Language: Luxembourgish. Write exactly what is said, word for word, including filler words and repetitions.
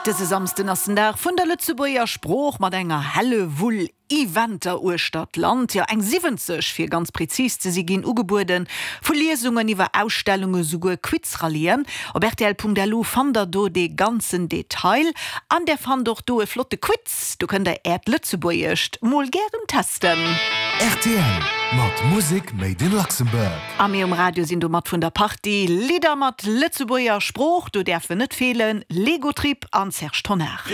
Dëse Samsden ass den Dag vun der Lëtzebuerger Sprooch mat enger Hellewull Eventer uechter d'Land, jo eng siwwenzeg fir ganz prezis ze si ginn ugebueden, vu Liesungen iwwer Ausstellunge souguer Quizrallyen. Op rtl.lu fannt der do de ganzen Detail an der fannt och do e flotte Quiz, do kënnt der äert Lëtzebuergescht mol gären testen. R T L mat Musek made in Luxembourg. A mir um Radio sinn do mat vun der Partie. Lidder mat Lëtzebuerger Sprooch, do däerfen net feelen Legotrip an Serge Tonnar.